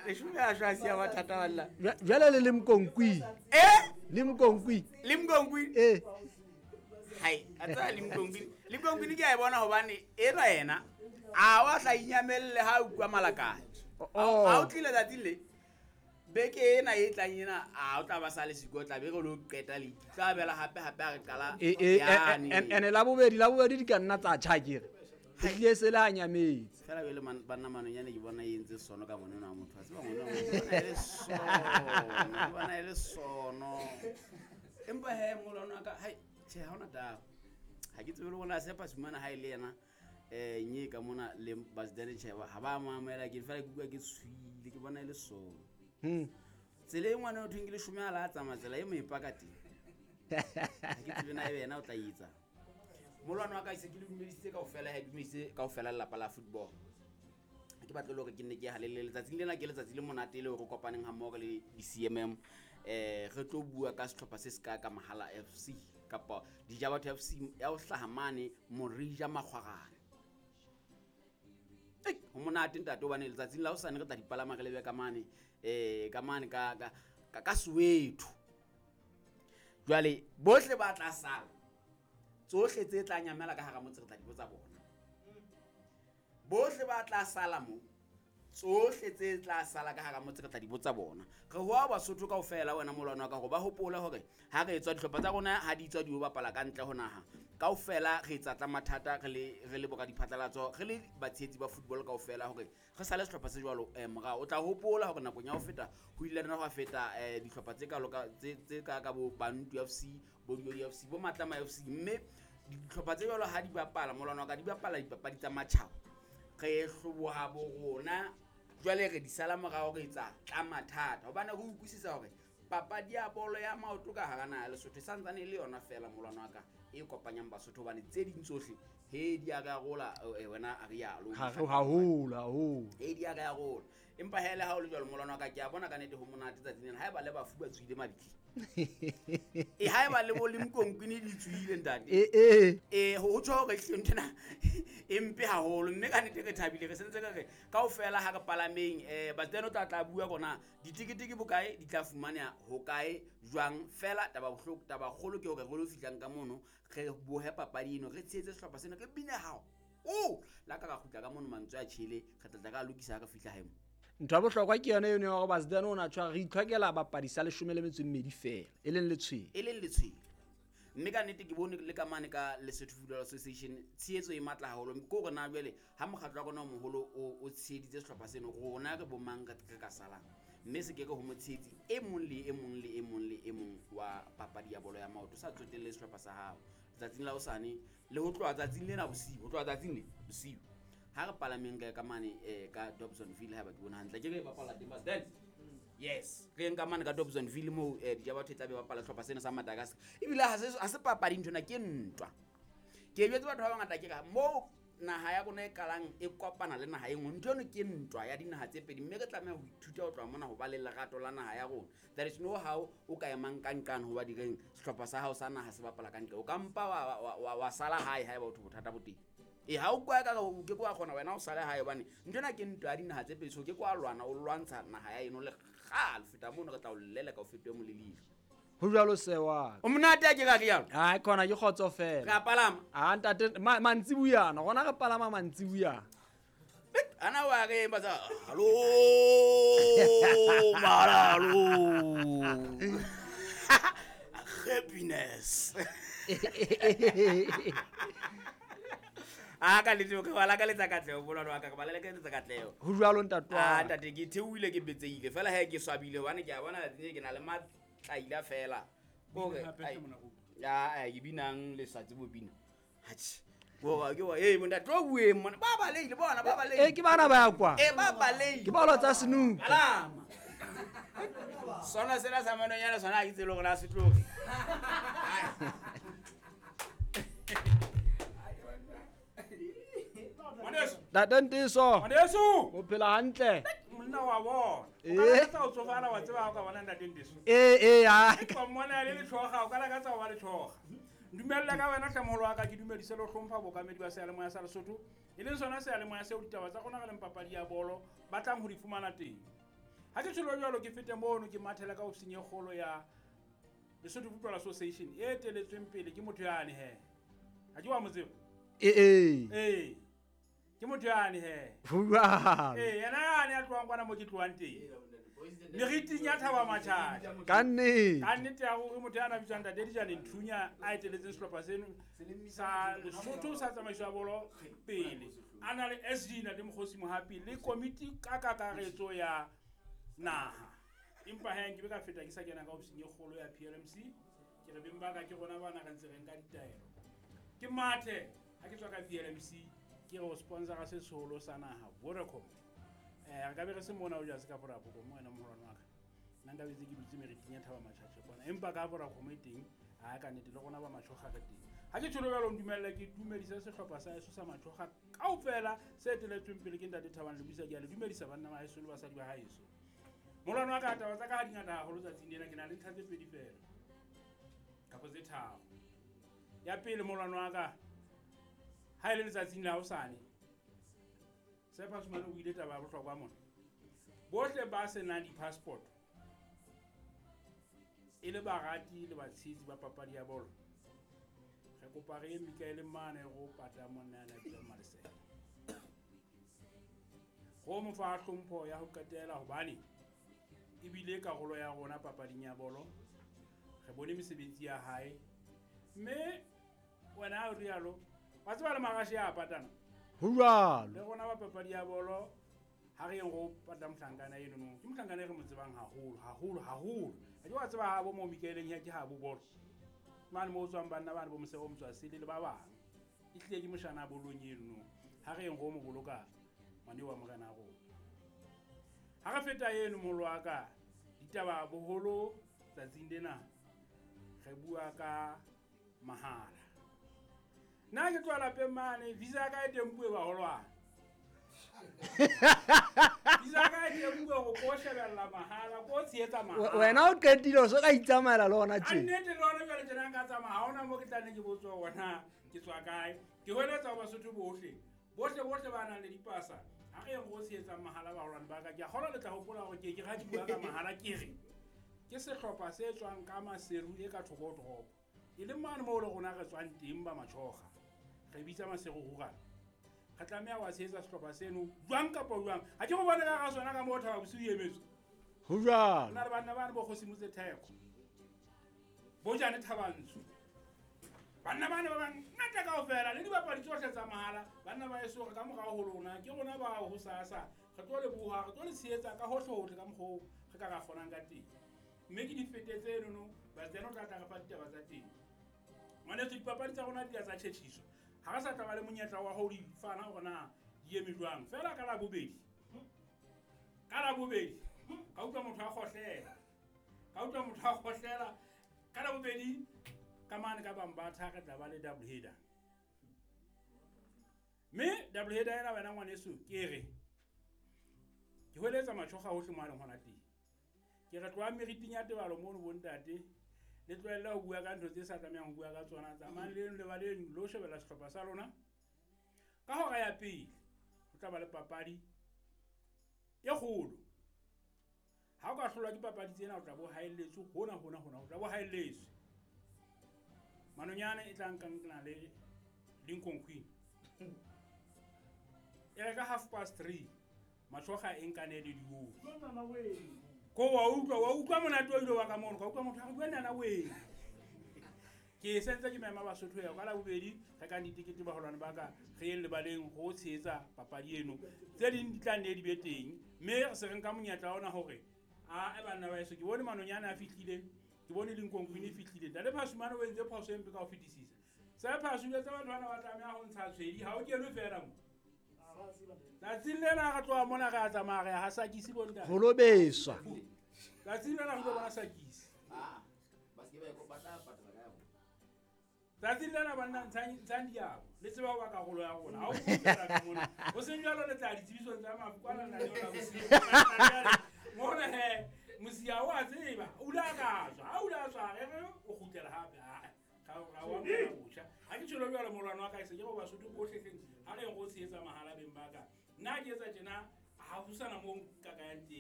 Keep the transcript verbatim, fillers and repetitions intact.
Leshome a shwa siya mathata walla. Jwale le Limkonkwi. Eh? Limkonkwi. Limkonkwi. Eh. Hai, a tsaya Limkonkwi. Limkonkwi ke a e bona hobane enwa yena a wa tla inyamelle ha utlwa malakane. Ha o tlile tsatsi le beke ena e tlang ena a o tla ba sa le siko tla be re lo qeta le tla bela hape hape a re qala yane. Ene la bobedi la bobedi di ka nna tsa tjha kere. Tlile se le hanyametse. Fela bele banna manonyane ke bona e entse sono ka ngwana wa motho. A tseba ngwana wa motho bona e le sono, bona e le sono. Empa he molwana wa ka hai tjhe ha ona taba. Ha ke tsebe le bona sepa sumana ha ile yena eh nye ka mona le Basdane tjhe ha ba mamela ke fela ke utlwa ke tshwile ke bona e le sono. Hmm. Tsela e ngwana o thweng ke leshome a la tsamaya tsela e mo ipaka teng. Ha ke tsebe na ebe yena o tla etsa. Molwana wa ka se ke le dumedisitse kaofela ha dumedisitse kaofela lelapa la football. Ke batle le hore ke nne ke halele letsatsing lena ke letsatsi le monate le hore kopaneng ha mmoho le di C M M eh re tlo bua ka sehlopha se seka ka Mahala F C kapa Dijabatho F C ya ho hlaha mane Morija Makgwarane. Ei ho monate ntate hobane letsatsing la hosane re tla dipalama re lebe ka mane eh ka mane ka ka ka Soweto. Jwale bohle ba tla sala tsohle tse tla nyamela ka hara motse re tla di botsa bona. Bohle ba tla sala mo tsohle tse tla sala ka hara motse re tla di botsa bona. Re hoa Basotho kaofela wena molwana wa ka hore ba hopola hore ha re etswa dihlopha tsa rona ha di tswa di o bapala ka ntle ho naha. Kaofela re etsa tla mathata re le re le boka diphatlalatso re le batshehetsi ba football kaofela hore re sale sehlopha se jwalo eh morao. O tla hopola hore nakong ya ho feta ho ile rena ho feta eh dihlopha tse kalo ka tse tse ka ka bo Bantu F C, bo Diodi F C, bo Matlama F C mme dihlopha tse jwalo ha di bapala molwana wa ka di bapala dipapadi tsa matjhaba. Re hloboha bo rona jwale re di sala morao re etsa tla mathata hobane re utlwisisa hore papadi ya bolo ya maoto ka hara naha ya Lesotho e santsane e le yona fela molwana wa ka e kopanyang Basotho hobane tse ding tsohle he di a re arola wena a re yalo haholo haholo he di a re arola. Empa hele ha o le jwalo molwana wa ka ke a bona ka nnete ho monate tsatsing lena haeba le bafu ba tswile mabitleng e haeba le bo Limkonkwi di tswile ntate eh eh eh ho tjho hore ehlile nthena e mpe haholo mme ka nnete re thabile re sentse re re kaofela ha re palameng eh Basdane o tla tla bua rona ditikete ke bokae di tla fumaneha hokae jwang fela taba bohloko taba kgolo ke hore re lo fihlang ka mono re bohe papadi eno re tshehetse sehlopha sena re bine hao o la ka ka kgutla ka mono mantswe a tjhele re tla tla ka lokisa ha re fihla hae mo. Ntho ya bohlokwa ke yona eno ya hore Basdane o na tshwara re itlhokela bapadi sa leshome le metso e mmedi fela e leng letshwele e leng letshwele mme ka nnete ke bone le ka mane ka Lesotho Football Association tshehetso e matla haholo ke hore na jwale ha mokgatlo wa rona o moholo o o tsheheditse sehlopha seno rona re bo mang re ka salang mme se ke ke ho motshehetsi e mong le e mong le e mong le e mong wa papadi ya bolo ya maoto sa tsotelle sehlopha sa hao letsatsing la hosane le ho tloha tsatsing lena bosiu ho tloha tsatsing le bosiu ha re palameng ka mane eh ka Dobsonville ha ba ke bona hantle ke re bapala teng Basdane. Yes re nka mane ka Dobsonville mo eh Dijabatho e tla be bapala sehlopha sena sa Madagascar ebile ha se ha se papadi nthona ke ntwa ke jwetse batho ba bangata ke ka mo naha ya rona e qalang e kopana le naha e nngwe ntho eno ke ntwa ya dinaha tse pedi mme re tlameha ho ithuta ho tloha mona ho ba le lerato la naha ya rona. There is no how o ka emang ka nqane ho ba direng sehlopha sa hao sa naha se bapala ka ntle o ka mpa wa wa wa sala hae haeba o thotho bothata bo teng. E ha o kwa ka o ke kwa kgona wena o sale hae hobane ntho ena ke ntwa ya dinaha tse pedi so ke kwa lwana o lwantsha naha ya eno le kgale feta mono re tla o leleka o fetohe molelile. Ho jwalo sewa. O monate a ke ka rialo. Ai khona ke kgotso fela. Re a palama. Ah ntate mantsibuyana rona re palama mantsibuyana. Ana wa re ba tsa hallo malalo. Happiness. A ka le tsoke wala ka letsa katleho bolwana wa ka ba le ka letsa katleho. Ho jwalo ntate wa. Ah ntate ke theohile ke betseile fela he ke swabile hobane ke a bona tse ke na le matlaila fela. Kore ya ke binang le sa tsebo bina. Hatjhe. Bo ke wa eh montate o bueng mona ba baleile bona ba baleile. Eh ke bana ba ya kwa. Eh ba baleile. Ke bolo tsa senook. Alama. Sona sena sa manonyana sona ha ke tsebe hore na se tloge. Ntate Ntiso. Ngwaneso. O phela hantle. Monna wa bona. O ka lakatsa ho tsofala wa tseba ha o ka bona Ntate Ntiso. Eh eh ha. Ka mmona le lethoga o ka lakatsa ho ba lethoga. Dumella ka wena hle moholo wa ka ke dumedise le ho hlompha bokamedi ba seyalemoya sa Lesotho. E leng sona seyalemoya seo ditaba tsa rona re leng papadi ya bolo ba tlang ho di fumana teng. Ha ke tsholo jwalo ke fete mono ke mathela ka ofising e kgolo ya Lesotho Football Association e eteletsweng pele ke motho yane he. Ha ke wa mo tseba? Ee ee. Ee. Ke motho yane he. Ho jwalo. Ee, yena yane ya tlohang kwana mo ke tlohang teng. Meriting ya Thaba Matjhaja. Ka nnete. Ka nnete ya hore motho ya na bitswang Ntate Dijane Nthunya a eteletseng sehlopha seno sa Lesotho sa tsamaiso ya bolo pele. A na le S G Ntate Mokgosi Mohapi le komiti ka kakaretso ya naha. Empa he nke be ka feta ke sa kena ka ofising e kgolo ya P L M C. Ke re beng ba ka ke rona bana re ntse re nka ditaelo. Ke mathe ha ke tswa ka P L M C ke re o sponsora se seholo sa naha Vodacom. Eh re ka be re se mona o ja se ka Vodacom wena moholwane wa ka. Nna nka betse ke dutse meriting ya Thaba Matjhaja kwana. Empa ka Vodacom e teng ha ka nnete le rona ba Matjhoga re teng. Ha ke tjholo jwalo ntumelle ke dumedise sehlopha sa heso sa Matjhoga kaofela se eteletsweng pele ke Ntate Thabang Lebisa. Ke a le dumedisa banna ba heso le basadi ba haeso. Molwana wa ka taba tsa ka ha di ngata haholo tsatsing lena, ke na le ntlha tse pedi feela kapa tse tharo. Ya pele molwana wa ka ha e le letsatsing la hosane Sepa Sumane o ile taba ya bohlokwa mona. Bohle ba senang di-passport e le barati le batshehetsi ba papadi ya bolo, re kopa re ye Mikaele mane go pata monna ya bitswang Malesela. Go mo fa hlompho ya ho qetela hobane ebile karolo ya rona papading ya bolo. Re bone mesebetsi ya hae mme wena o rialo wa tseba le marashe a patana. Ho jwalo. Le rona ba papadi ya bolo ha re yeng go pata mohlankana eno no. Ke mohlankana e re mo tsebang haholo haholo haholo. Ha ke wa tseba ha bo mo Mikaeleng ya ke ha bo bolo. Mane mo tswang banna bana bo Mosebo Motswasele le ba bang. E hlile ke moshana bolong eno no. Ha re yeng go mo boloka ngwane wa morena rona. Ha re feta eno moholo wa ka ditaba boholo tsatsing lena re bua ka mahala. Nna ke tloha lapeng mane visa ya ka e teng bue baholwane. Visa ya ka e teng bue go ko shebella mahala ko tshehetsa mahala. Wena o qetile o so ka itsamaela le hona tje. A nnete le hona jwale tjena nka tsamaya ha hona mo ke tla nne ke botswa hore na ke tswa kae. Ke hweletsa ho Basotho bohle. Bohle bohle ba nang le dipasa. Ha re yeng go tshehetsa mahala baholwane ba ka. Ke a kgolwa le tla hopola hore ke ke ha ke bua ka mahala ke re ke sehlopha se tswang ka Maseru e ka thoko ho toropo. E le mane moo le rona re tswang teng ba Matjhoga. Re bitsa Maseru Rural. Re tlameha wa tshehetsa sehlopha seno jwang kapa jwang. Ha ke go bone ka ga sona ka moo Thaba Bosiu e emetswe. Ho jwalo. Nna le banna bane bo Kgosi Motse Theko. Bojane Thabantsho. Banna bane ba bangata kaofela le dibapadi tsohle tsa mahala. Banna ba heso re ka morao ho lona ke rona bao hosasa. Re tlo leboha, re tlo le tshehetsa ka hohle hohle ka mokgwa oo re ka ra kgonang ka teng. Mme ke di fetetse enono, Batsena o tla tla re fa ditaba tsa teng. Ngwaneso dipapadi tsa rona di a tsa tjhetjhiswa. Ha re sa tla ba le monyetla wa ho di fana hore na di eme jwang. Feela ka Labobedi. Ka Labobedi ka utlwa motho a kgohlela. Ka utlwa motho a kgohlela. Ka Labobedi ka mane ka Bambatha re tla ba le double header. Mme double header ena wena ngwaneso ke re ke hweletsa Matjhoga hohle mo a leng hona teng. Ke re tloha meriting ya tebalo mono bo ntate le tlohelle ho bua ka ntho tse sa tlamehang ho bua ka tsona. Tsamayang le leng lebaleng lo shebella sehlopha sa lona. Ka hora ya pele ho tla ba le papadi e kgolo. Ha o ka hlolwa ke papadi tsena o tla bo haelletswe hona hona hona o tla bo haelletswe. Manonyane e tla nkang le Lincoln Queen. E re ka half past three Matjhoga e nkane le dioli. Ko wa utlwa wa utlwa monate o ile wa ka mono ka utlwa motho a re bua nana wena. Ke sentse ke mema Basotho ya ka Labobedi re ka ditekete baholwane ba ka re yeng lebaleng go tshehetsa papadi eno. Tse ding di tla nne di be teng mme re se re nka monyetla ona hore a e banna ba heso ke bone Manonyane a fihlile, ke bone Lincoln Queen e fihlile. Ntate Phasumane o entse phoso e mpe ka ho fetisisa. Se Phasumane tsa batho bana ba tlameha ho ntsha tshwedi ha o kenwe feela mo. Tsatsing lena re tloha mona re a tsamaya re ya ha Sakisi bo ntate. Ho lo beswa. Tsatsing lena re tlo bona Sakisi. Ah, ba se ke ba ba tla patala ka ya bona. Tsatsing lena banna ntshang ntshang diabo. Le tseba ho ba karolo ya rona. Ha o kgutlela ka mona. Ho seng jwalo le tla ditsebisong tsa mafu kwana na le yona bosiu. Mona he mosia o a tseba, o ile a ka tswa. Ha o ile a tswa re re o kgutlela hape. Ha ga ga wa mona botjha. Ha ke tjholo jwalo molwana wa ka e se ke bo Basotho bohle hleng. Ha re go tshehetsa mahala beng ba ka. Nna ke etsa tjena ha ho sana moo nka ka yang teng.